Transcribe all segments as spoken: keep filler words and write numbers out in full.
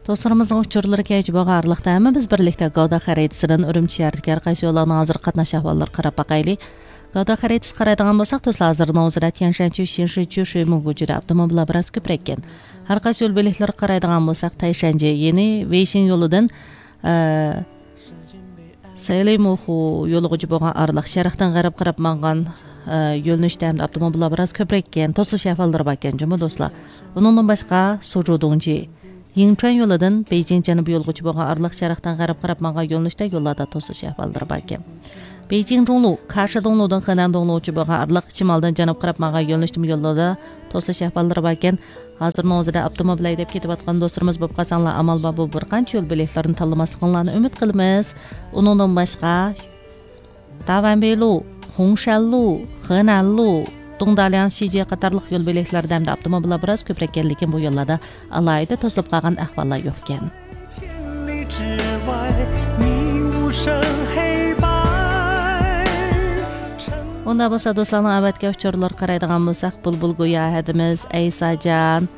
دوستلىرىمىزنىڭ ئۇچۇرلىرى كەيچە بولغان ئارىلىقتا ھەممىمىز بىرلىكتە گاۋدا خەرىتىسىدىن ئۈرۈمچى شەھىرىدىكى ھەر قايسى يوللارنىڭ ھازىرقى قاتناش ئەھۋاللىرىغا قاراپ باقايلى. گاۋدا خەرىتىسىگە قارايدىغان بولساق، دوستلار، ھازىرنىڭ ئۆزىدە تيەنشەنچۈ، شىنشىچۈ، شۈيموگۇجىدا ئاپتوموبىللار بىراز كۆپرەككەن. ھەر قايسى يول بۆلەكلىرىگە قارايدىغان بولساق، تەيشەنجى، يەنى ۋېيشىڭ يولىدىن، ئە، سەيلىمۇخۇ يولىغىچە بولغان ئارىلىق شەرقتىن غەرب قاراپ ماڭغان، ئە، يۆنىلىشتە ھەمدە ئاپتوموبىللار بىراز كۆپرەككەن، توسۇلۇش ئەھۋاللىرى باركەن جۇمۇ دوستلار. ئۇنىڭدىن باشقا، سۇجۇدۇڭجى، يىڭچۈەن يولىدىن بېيجىڭ جەنۇبىي يولغىچە بولغان ئارىلىق شەرقتىن غەرب قاراپ ماڭغان يۆنىلىشتە يوللاردا توسۇلۇش ئەھۋاللىرى باركەن. بېيجىڭ جۇڭلۇ، كاشى دۇڭلۇدىن خېنەن دۇڭلۇغىچە بولغان ئارىلىق شىمالدىن جەنۇب قاراپ ماڭغان يۆنىلىشتىمۇ يوللاردا توسۇلۇش ئەھۋاللىرى باركەن. ھازىرنىڭ ئۆزىدە ئاپتوموبىل ھەيدەپ كېتىۋاتقان دوستلىرىمىز بولۇپ قالساڭلار، ئامال بار بۇ بىر قانچە يول بۆلەكلىرىنى تاللىماسلىقىڭلارنى ئۈمىد قىلىمىز. ئۇنىڭدىن باشقا، داۋەنبېيلۇ، خۇڭشەنلۇ، خېنەنلۇ، دۇڭدالياڭ شىجيې قاتارلىق يول بۆلەكلەردە ھەمدە ئاپتوموبىللار بىراز كۆپرەككەن، لېكىن بۇ يوللاردا ئالاھىدە توسۇلۇپ قالغان ئەھۋاللار يوقكەن. ئۇنداق بولسا، دوستلارنىڭ ئەۋەتكەن ئۇچۇرلىرىغا قارايدىغان بولساق، بۇلبۇل گويا ھەدىمىز، ئەيساجان،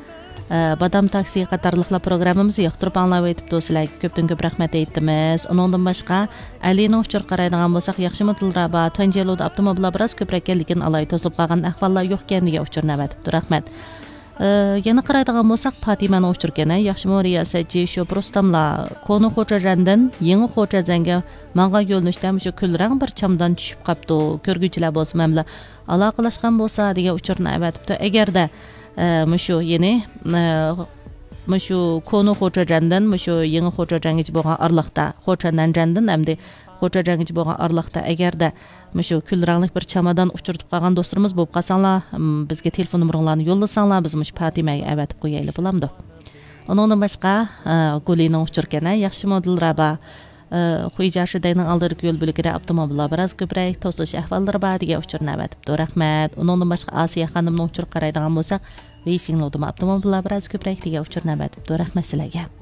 ئە، بادام تاكسى قاتارلىقلار پروگراممىمىزنى ياقتۇرۇپ ئاڭلاۋېتىپتۇ. سىلەرگە كۆپتىن كۆپ رەھمەت ئېيتىمىز. ئۇنىڭدىن باشقا، ئەلىنىڭ ئۇچۇرىغا قارايدىغان بولساق، ياخشىمۇ دىلرابا، تۇەنجيەلۇدا ئاپتوموبىللار بىراز كۆپرەككەن، لېكىن ئالاھىدە توسۇلۇپ قالغان ئەھۋاللار يوقكەن دېگەن ئۇچۇرنى ئەۋەتىپتۇ. رەھمەت. ئە، يەنە قارايدىغان بولساق، پاتىمەنىڭ ئۇچۇرىكەن، ھە، ياخشىمۇ رىياسەتچى شوپۇر ئۇستاملار، كونا خوچەجەندىن يېڭى خوچەجەنگە ماڭغان يۆنىلىشتە مۇشۇ كۈلرەڭ بىر چامدان چۈشۈپ قاپتۇ. كۆرگۈچىلەر بولسا مەن بىلەن ئالاقىلەشكەن بولسا دېگەن ئۇچۇرنى ئەۋەتىپتۇ. ئەگەردە، ئە، مۇشۇ، يەنى، ئە، مۇشۇ كونا خوچەجەندىن مۇشۇ يېڭى خوچەجەنگىچە بولغان ئارىلىقتا، خوچەنەنجەندىن ئەمدى خوچەجەنگىچە بولغان ئارىلىقتا، ئەگەردە مۇشۇ كۈل رەڭلىك بىر چامادان ئۇچرىتىپ قالغان دوستلىرىمىز بولۇپ قالساڭلار، م، بىزگە تېلېفون نومۇرۇڭلارنى يوللىساڭلار، بىز مۇشۇ پاتىمەگە ئەۋەتىپ قويايلى، بولامدۇ؟ ئۇنىڭدىن باشقا، ئە، گۇلىنىڭ ئۇچۇرىكەن، ھە، ياخشىمۇ دىلرابا؟ ئە، خۇيجيا شىدەينىڭ ئالدىدىكى يول بۆلىكىدە ئاپتوموبىللار بىراز كۆپرەك، توسۇلۇش ئەھۋاللىرى بار دېگەن ئۇچۇرنى ئەۋەتىپتۇ. رەھمەت. ئۇنىڭدىن باشقا ئاسىيە خانىمنىڭ ئۇچۇرىغا قارايدىغان بولساق، ۋېيشىڭلۇدىمۇ ئاپتوموبىللار بىراز كۆپرەك دېگەن ئۇچۇرنى ئەۋەتىپتۇ. رەھمەت سىلەرگە.